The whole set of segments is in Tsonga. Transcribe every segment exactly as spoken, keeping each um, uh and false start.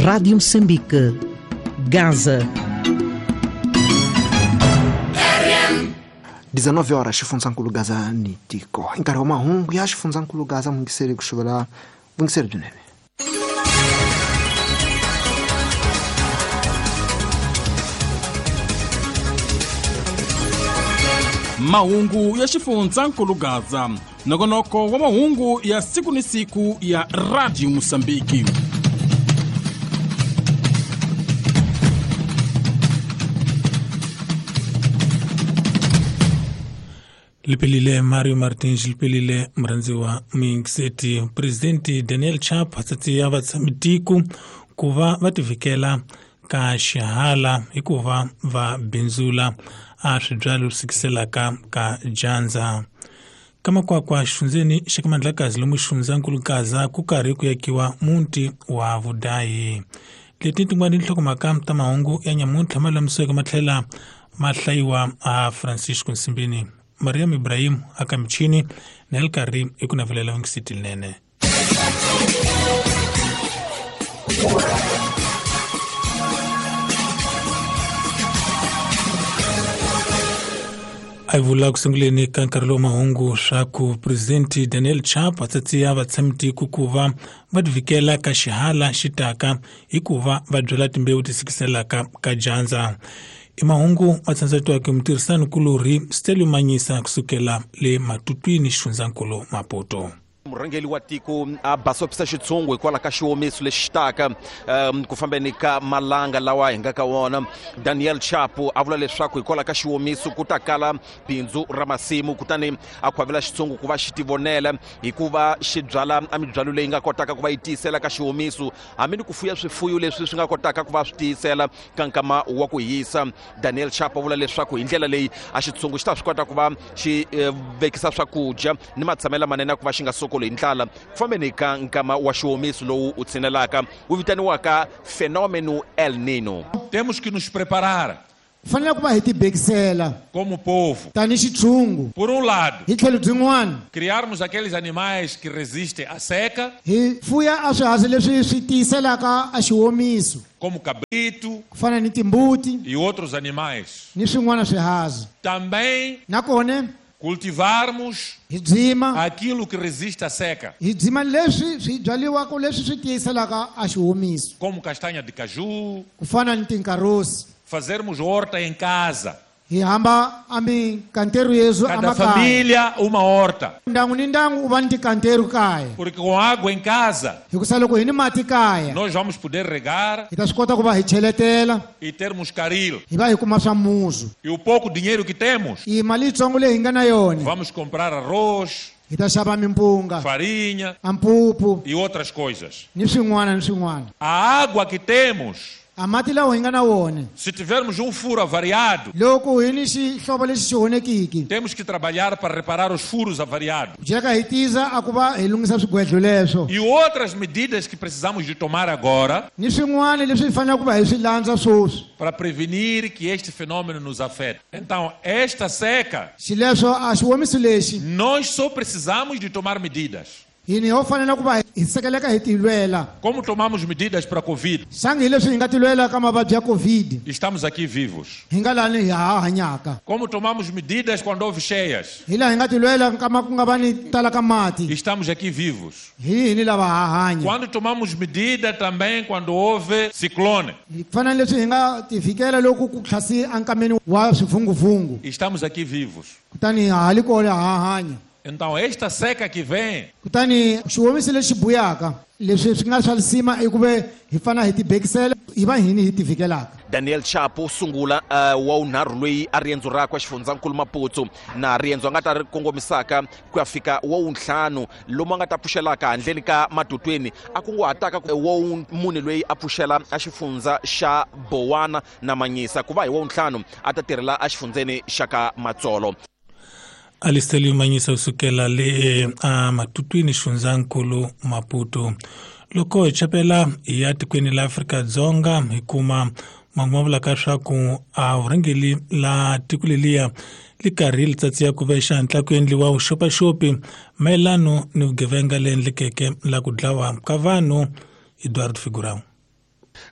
Rádio Moçambique, Gaza. dezenove horas xifundzankulu Gaza ni tiko. Hi nkarhi wa mahungu ya xifundzankulu Gaza mungiseri ku xuvela vungiseri byinene. Mahungu ya xifundzankulu Gaza, nongonoko wa mahungu ya siku ni siku ya Radio Mosambiki. Lipelile Mario Martins, lipelile mrhandziwa Minxeti. Presidente Daniel Chapo tsatsi ya vatshami-tiko ku va va tivikela ka xihala hikuva va bindzula a swibyalo swikiselaka ka dyandza. Ka makwakwa xifundzeni xa ka Mandlakazi lomu xifundzankulu Gaza ku karhi ku yakiwa muti wa vudayi. Leti tin'wana tinhlokomhaka ta mahungu ya nyamuntlha ma lulamisiweke ma tlhela ma hlayiwa a Francisco Nsimbini. Mariam Ibrahim aka michini na el karhi i ku navelela vungisiti linene. A vula ku sunguleni ka nkarhi lowu mahungu swa ku Presidente Daniel Chapo a tsatsiya vatshami-tiko ku va va tivikela ka xihala xi taka hikuva va byala timbewu ti sikiselaka ka dyandza. I mahungu ma tsandzatiwaka hi mutirhisani-kulorhi Stelio Manyisa kusukela le Matutwini xifundzankulu Maputo. Murhangeri wa tiko a basopisa xitshungu hikwalaho ka xiwomiso lexi taka um, ku fambeni ka malanga lawa hi nga ka wona. Daniel Chapo a vula leswaku hikwalaho ka xiwomiso ku ta kala bindzu ra masimu, kutani a khwavela xitshungu ku va xi tivonela hikuva xi byala a mibyalo leyi nga kotaka ku va yi tiyisela ka xiwomiso, hambi ni ku fuya swifuyo leswi swi nga kotaka ku va swi tiyisela ka nkama wa ku hisa. Daniel Chapo a vula leswaku hi ndlela leyi a xitshungu xi ta swi kota ku va xi eh, vekisa swakudya ni matshamelo lamanene ku va xi nga sokoli hi ndlala ku fambeni ka nkama wa xiwomiso lowu u tshinelaka wu vitaniwaka fenômeno El Nino. Temos que nos preparar fanele ku va hi tibekisela como povo. Tanihi xitshungu. Por um lado, hi tlhelo byin'wana, criarmos aqueles animais que resistem à seca, hi fuya a swiharhi leswi swi tiyiselaka a xiwomiso, como cabrito, ku fana ni timbuti e outros animais, ni swin'wana swiharhi. Também nakona cultivarmos hi byima aquilo que resiste à seca, hi byima leswi swi byaliwaka leswi swi tiyiselaka a xiwomiso, como castanha de caju, ku fana ni tinkarosi. Fazermos horta em casa. Hi hamba a mikanteru yesu Cada família uma horta. Ndangu ni ndangu u va ni tikanteru kaya. Porque com água em casa, hikusa loko hi ni mati kaya, nós vamos poder regar hi ta swi kota ku va hi cheletela e termos caril. Hi va hi kuma swa muzu. E o pouco dinheiro que temos, i mali yitsongo leyi hi nga na yona, vamos comprar arroz, hi ta xava mimpunga, farinha, ampupu e outras coisas. Ni swin'wana ni swin'wana. A água que temos, a mati lawa hi nga na wona, se tivermos um furo avariado, loko hi ni xihlovo lexi xi onhekiki, temos que trabalhar para reparar os furos avariados. Jeka hi tiza a ku va hi lunghisa swigwedlo leswo. E outras medidas que precisamos de tomar agora, ni swin'wana leswi hi faneleke ku va hi swi landza sweswi, para prevenir que este fenômeno nos afete. Então, esta seca, xileswo a xiwomiso lexi, nós só precisamos de tomar medidas. Hini ho fanele ku va hi sekeleka hi tilwela. Como tomamos medidas para a Covid? Xangi leswi hi nga tilwela ka mavabyi ya Covid. Estamos aqui vivos. Hi nga lani hi ha hanyaka. Como tomamos medidas quando houve cheias? Hi laha hi nga tilwela nkama ku nga va ni tala ka mati. Estamos aqui vivos. Hi hini lava ha hanya. Quando tomamos medida também quando houve ciclone. Hi fana leswi hi nga tivikela loko ku tlhasi ankameni wa swivunguvungu. Estamos aqui vivos. Kutani ha li kona ha hanya. Então esta seca que vem, kutani xiwomiso lexi buyaka leswi swi nga swa lisima i ku ve hi fana hi tibekisela hi va hini hi tivikelaka. Daniel Chapo sungula uh, wa unharhu loyi a riendzo rakwe xifundzankulu Maputo na riendzo a nga ta ri kongomisaka ku ya fika wa wuntlhanu lomu a nga ta pfuxelaka handleni ka Matutweni a kunguhataka wa mune loyi a pfuxela a xifundza xa Bowana na Manyisa ku va hi wa wuntlhanu a ta tirhela exifundzeni xa ka Matsolo. Alistelio Manyisa usukela le a Matutwini xifundzankulu Maputo. Loko hi chapela ya tikweni la Afrika Dzonga hi kuma mahungu ma vulaka swa ku a vurhangeri la tiko leliya li karhi li tsatsiya ku ve xihatla ku endliwa vuxopaxopi mayelano ni vugevenga leyi endlekeke la ku dlawa ka vanhu. Eduardo Figurão.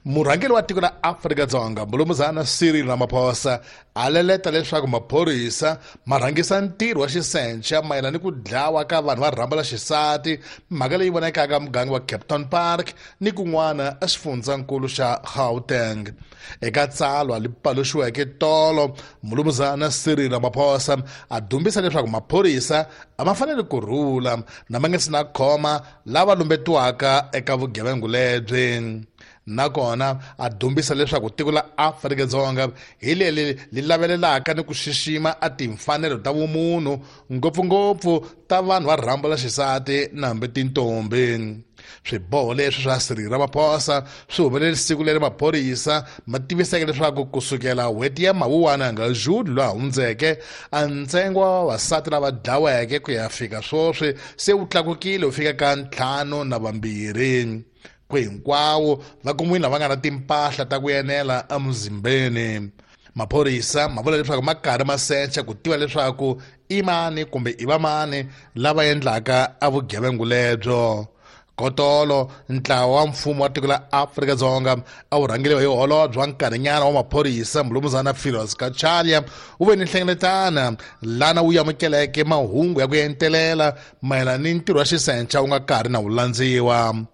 Murhangeri wa tiko la Afrika-Dzonga Mulumuzana Cyril Ramaphosa a leleta leswaku maphorisa ma rhangisa ntirho wa xisenxa mayelana ni ku dlawa ka vanhu va rhambo la xisati, mhaka leyi vonakaka muganga wa Kempton Park ni kun'wana exifundzankulu xa Gauteng. Eka tsalwa li paluxiweke tolo, Mulumuzana Cyril Ramaphosa a dumbisa leswaku maphorisa a ma fanele ku rhula na ma nga si na khoma lava lumbetiwaka eka vugevenga lebyi. Nakona a dumbisa leswaku tiko la Afrika-Dzonga hi leri li lavelelaka ni ku xixima a timfanelo ta vumunhu, ngopfungopfu ta vanhu va rhambo la xisati na hambi tintombi. Swiboho leswi swa Cyril Ramaphosa swi humelele siku leri maphorisa ma tiviseke leswaku kusukela n'hweti ya Mawuwani nga June lowu hundzeke, a ntsengo wa vavasati lava dlaweke ku ya fika sweswi se wu tlakukile wu fika ka ntlhanu na vambirhi. Ku hinkwawo va kumiwile lava nga na timpahla ta ku enela emuzimbeni. Maphorisa ma vula leswaku ma karhi ma secha ku tiva leswaku i mani kumbe i vamani lava endlaka a vugevenga lebyo. Kotolo ntlawa wa mfumo wa tiko la Afrika-Dzonga a wu rhangeriwa hi holobye wa nkarhinyana wa maphorisa Mulumuzana Firoz Cachalia wu ve ni nhlengeletano lana wu amukeleke mahungu ya ku entelela mayelana ni ntirho wa xisenxa wu nga karhi na wu landziwa.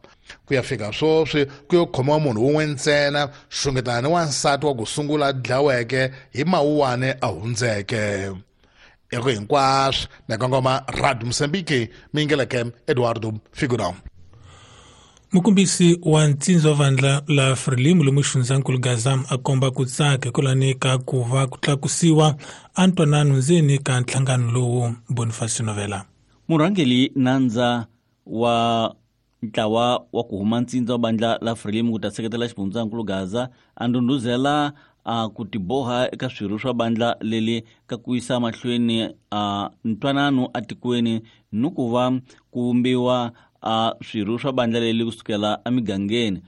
Ku ya fika sweswi ku yo khomiwa munhu wun'we ntsena, xungetana ni wansati wa ku sungula dlaweke hi Mawuwani a hundzeke. Eko hinkwaswo na kongoma Radio Mozambique, mingeleke Eduardo Figurão. Mukombisi wa ntsindza wa vandla la Frelimo lomu xifundzankulu Gaza a komba ku tsaka hikwalaho ka ku va ku tlakusiwa a ntwanano ndzeni ka nhlangano lowu. Boniface Novela. Murhangeri nandza wa ntlawa wa ku huma ntsindza wa bandla la Frelimo ku ta seketela xifundzankulu Gaza a ndhundhuzela a ku tiboha eka swirho swa bandla leli ka ku yisa mahlweni a ntwanano atikweni ni ku va ku vumbiwa a swirho swa bandla leli kusukela emigangeni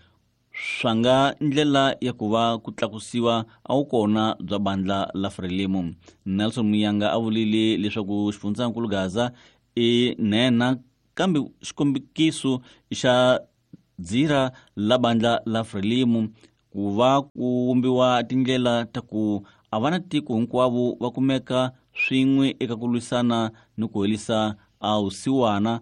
swa nga ndlela ya ku va ku tlakusiwa a wu kona bya bandla la Frelimo. Nelson Muyanga a vulile leswaku xifundzankulu Gaza i nhenha kambe xikombiso xa dzira la bandla la Frelimo ku va ku vumbiwa tindlela ta ku a va na tiko hinkwavo va kumeka swin'we eka ku lwisana ni ku herisa a vusiwana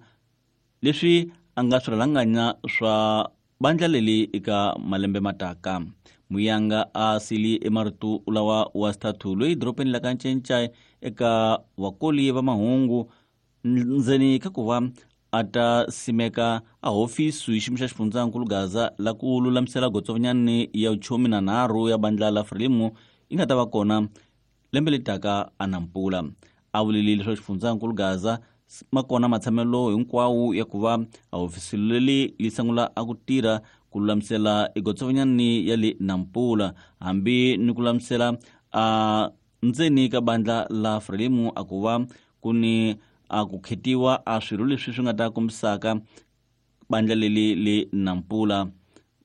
leswi a nga swirhalanganya swa bandla leli eka malembe mataka. Muyanga a sili emarito lawa wa xithathu loyi dorobeni la ka Ncencai eka vakoli va mahungu ndzeni ka ku va a ta simeka a hofisi hi xiyimo xa xifundzankulu Gaza la ku lulamisela gotsovanyani ya vuchomi na nharhu ya bandla la Frelimo yi nga ta va kona lembe leri taka a Nampula. A vulile leswaku xifundzankulu Gaza ma kona matshamelo hinkwawo ya ku va a hofisi leri yi sungula a ku tirha ku lulamisela egotsovanyani ya le Nampula hambi ni ku lulamisela a ndzeni ka bandla la Frelimo a ku va ku ni a ku khetiwa a swirho leswi swi nga ta kombisaka bandla leli le Nampula.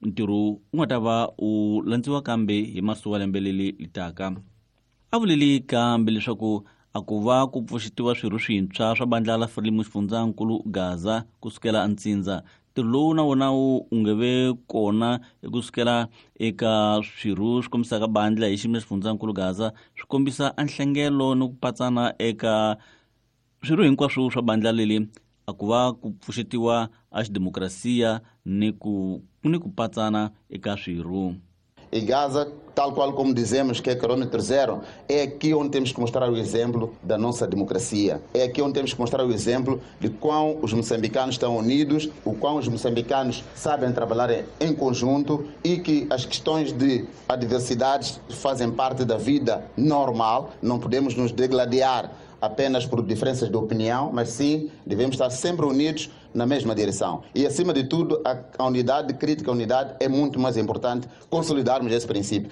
Ntirho wu nga ta va wu landziwa kambe hi masiku wa lembe leli li taka. A vuleli kambe leswaku a ku va ku pfuxetiwa swirho swintshwa swa bandla la Frelimo xifundzankulu Gaza kusukela ntsindza. Ntirho lowu na wona wu nge ve kona kusukela eka swirho swi kombisaka bandla hi xiyimo xa xifundzankulu Gaza swi kombisa a nhlengelo ni ku patsana eka swirho hinkwaswo swa bandla leli a ku va ku pfuxetiwa a xidemokrasiya ni ku ni ku patsana eka swirho. E Gaza, tal qual como dizemos que é quilômetro zero, é aqui onde temos que mostrar o exemplo da nossa democracia. É aqui onde temos que mostrar o exemplo de quão os moçambicanos estão unidos, o quão os moçambicanos sabem trabalhar em conjunto e que as questões de adversidades fazem parte da vida normal. Não podemos nos degladiar apenas por diferenças de opinião, mas sim devemos estar sempre unidos na mesma direção. E, acima de tudo, a, a unidade crítica, a unidade é muito mais importante consolidarmos esse princípio.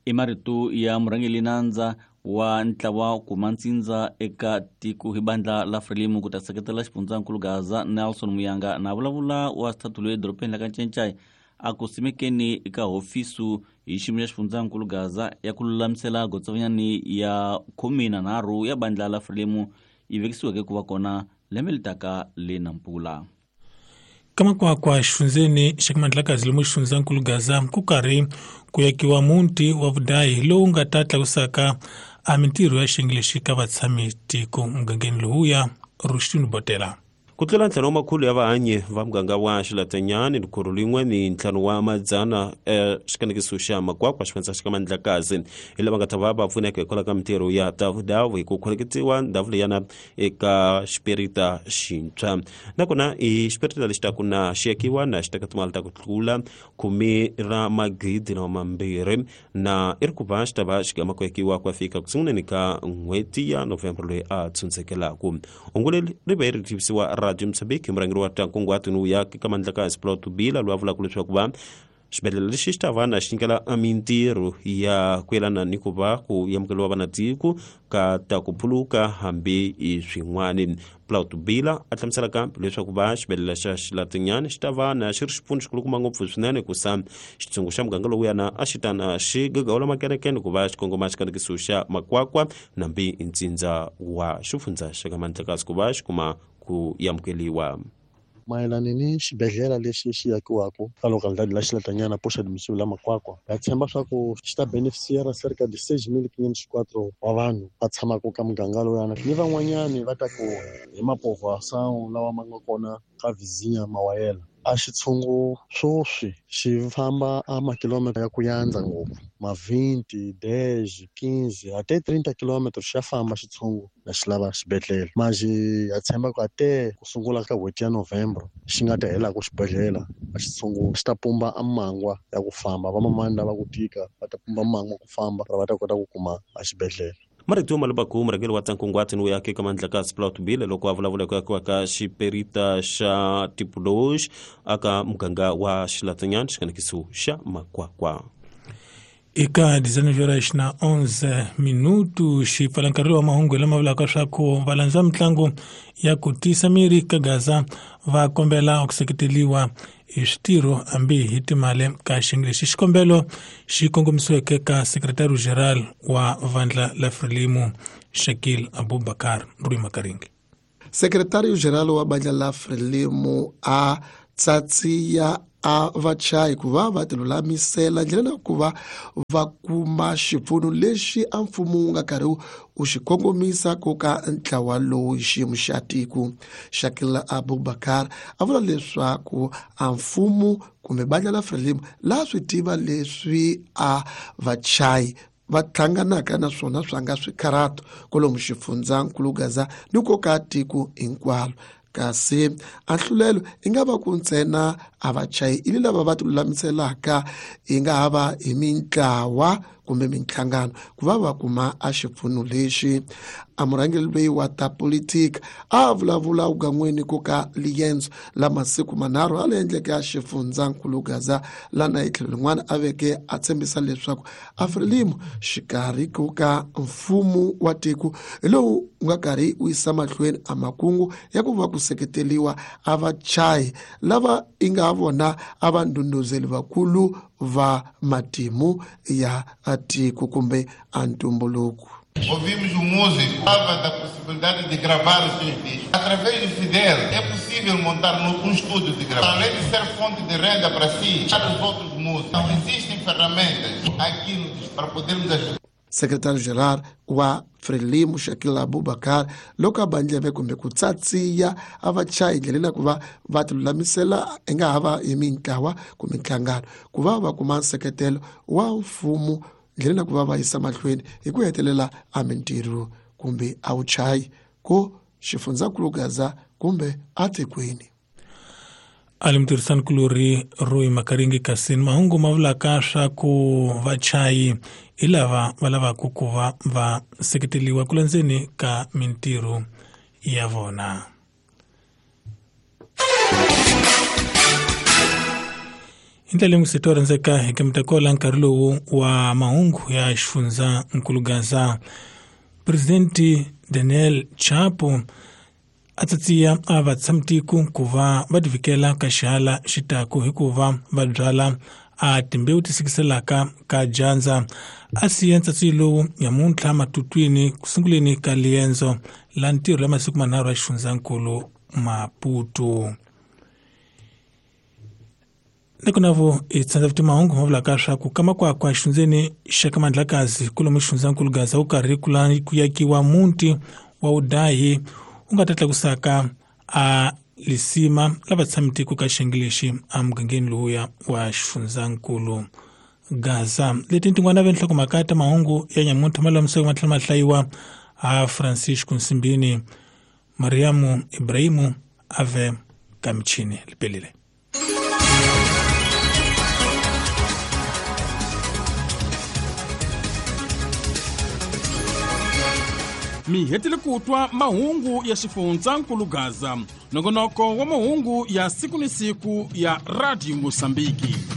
I marito ya murhangeri nandza wa ntlawa kuma ntsindza eka tiko hi bandla la Frelimo ku ta seketela xifundzankulu Gaza Nelson Muyanga na vulavula wa xithathu loyi edorobeni la ka Ncencai a ku simekeni eka hofisu hi xiyimo xa xifundzankulu Gaza ya ku lulamisela gotsovanyani ya khume na nharhu ya bandla la Frelimo yi vekisiweke ku va kona lembe leri taka le Nampula. Ka Makwakwa xifundzeni xa Mandlakazi lomu xifundzankulu Gaza ku karhi ku yakiwa muti wa vudayi lowu nga ta tlakusaka a mintirho ya xiyenge lexi ka vatshami tiko mugangeni lowuya Rushtin Botela. Ku tlula ntlhanu wa makhulu ya vahanyi va muganga wa Xilatanyani likhuru lin'we ni ntlhanu wa madzana xikanekiso xa Makwakwa xifundza xa ka Mandlakazi hi lava nga ta va va pfuneka hikwalaho ka mintirho ya tavudavu hi ku khoneketiwa ndhawu leyana eka xipirita xintshwa nakona i xipirita lexi taku na xi yakiwa na xi teka timali ta ku tlula khume ra magidi na mambirhi na i ri ku va xi ta va xi gama ku yakiwa ku ya fika ku sunguleni ka n'hweti ya November loyi a tshundzekelaku hungu leri ri ve ri tivisiwa Radio Mozambique murhangeri wa ta nkunguhato ni vuyaki ka Mandlakazi Plot Bila loyi a vulaka leswaku va xibedhlele lexi xi ta va na xi nyikela mintirho ya ku yelana ni ku va ku amukeriwa vanatiko ka ta ku phuluka hambi i swin'wani. Plot Bila a hlamusela kambe leswaku va xibedhlele xa Xilatinyani xi ta va na xi ri xipfuno xikulukumba ngopfu swinene ku sa xitshungu xa muganga lowuyana a xi tana xi gagawula makerekene ku va xi kongoma xikanekiso xa Makwakwa nambi ntsindza wa xifundza xa ka Mandlakazi ku va xi kuma ku amukeriwa. Mayelana ni xibedhlele lexi xi yakiwaka ka localidade la Xilatanyana poxa admissível la Makwakwa ha tshemba swa ku xi ta beneficiara cerca de seis mil quinhentos e quatro wa vanhu va tshamaka ka muganga lowuyana ni van'wanyani va ta ku hi mapovoação lawa ma nga kona ka vizinha Mawayela. A xitshungu swoswi xi famba a makilomita ya ku yandza ngopfu ma vinte, dez, quinze até trinta quilômetros xa famba xitshungu na xi lava xibedhlele manjhe ha tshemba ku ate ku sungula ka n'hweti ya Novembro xi nga ta helaku xibedhlele a xitshungu xi ta pumba a mangwa ya ku famba vamamani lava ku tika va ta pumba mangwa ku famba va ta kota ku kuma a xibedhlele. Marito Malubaku murhangeri wa ta nkunguhato ni vuyaki ka Mandlakazi Plot Bila loko a vulavula ku yakiwa ka xiperita xa Tipoloji aka muganga wa Xilatanyani xikanekiso xa Makwakwa. Eka dezenove horas na onze minutos xi pfala nkarhi wa mahungu lama vulaka swa ku valandza mitlangu ya ku tiyisa miri ka Gaza va kombela ku seketeriwa hi switirho hambi hi timali ka xiyenge lexi. Xikombelo xi kongomisiweke ka sekretariyo general wa vandla la Frelimo Shakil Abubakar Rui Makaringi. Sekretariyo general wa vandla la Frelimo a tsatsiya a vachayi ku va va tilulamisela ndlela na ku va va kuma xipfuno lexi a mfumo wu nga karhi wu xi kongomisa ku ka ntlawa lowu xiyimo xa tiko. Shakil Abubakar a vula leswaku a mfumo kumbe vandla la Frelimo laha swi tiva leswi a vachayi va hlanganaka na swona swa nga swikharato kwalomu xifundzankulu Gaza ni ko ka tiko hinkwalo. Kasi a nhlulelo i nga va ku ntsena a vachayi ili lava va tilulamiselaka i nga ha va hi mintlawa kumbe minhlangano ku va va kuma a xipfuno lexi. A murhangeri loyi wa ta politika a vulavula ugan'weni ku ka liyendzo la masiku manharhu a le endleke a xifundzankulu Gaza lana hi tlhelo rin'wana a veke a tshembisa leswaku a Frelimo xikarhi ku ka mfumo wa tiko hi lowu wu nga karhi wu yisa mahlweni a makungu ya ku va ku seketeriwa a vachayi lava i nga vona a va ndhundhuzeli vakulu va matimu ya tiko kumbe a ntumbuluko. Ouvimos um músico falava da possibilidade de gravar os seus discos. Através do Fidel é possível montar um estúdio de gravação. Além de ser fonte de renda para si, para os outros músicos. Então, existem ferramentas aqui no para podermos ajudar. Secretário-geral wa Frelimo Shakil Abubakar loko a bandleve kumbe ku tsatsiya a vachayi ndlela ku va va tilulamisela i nga ha va hi mintlawa kumbe nhlangano ku va va kuma nseketelo wa mfumo ndlela ku va va yisa mahlweni hi ku hetelela a mintirho kumbe a vuchayi ko xifundzankulu Gaza kumbe atikweni. Ali mutirhisanikulori Rui Makaringi kasi mahungu ma vulaka swa ku vachayi hi lava va lavaka ku va va seketeriwa ku landzeni ka mintirho ya vona. Hi ndlela leyi to rhandzeka hi kimitakola nkarhi lowu wa mahungu ya xifundzankulu Gaza. Presidente Daniel Chapo a tsatsiya a vatshamitiku ku va va tivikela ka xihala xitaku hikuva va byala a timbewu ti sikiselaka ka dyandza. A siya ntsatsi lowu nyamuntlha matutwini ku sunguleni ka liendzo la ntirho la masiku manharhu ya xifundzankulu Maputo. Nekunavo hi tsandza vuti mahungu ma vulaka swa ku ka Makwakwa xifundzeni xa ka Mandlakazi kulomu xifundzankulu Gaza wu karhi ku ku yakiwa muti wa vudahi wu nga ta tlakusaka a lisima lava tshami tiko ka xiyenge lexi emugangeni lowuya wa xifundzankulu Gaza. Leti tin'wana ve nhlokomhaka ta mahungu ya nyamuntlha ma lulamiseke ma tlhela ma hlayiwa a Francisco Nsimbini, Mariamu Ibrahimu ave ka michini lipelile. Mi hetile ku twa mahungu ya xifundzankulu Gaza, nongonoko wa mahungu ya siku ni siku ya Radio Mosambiki.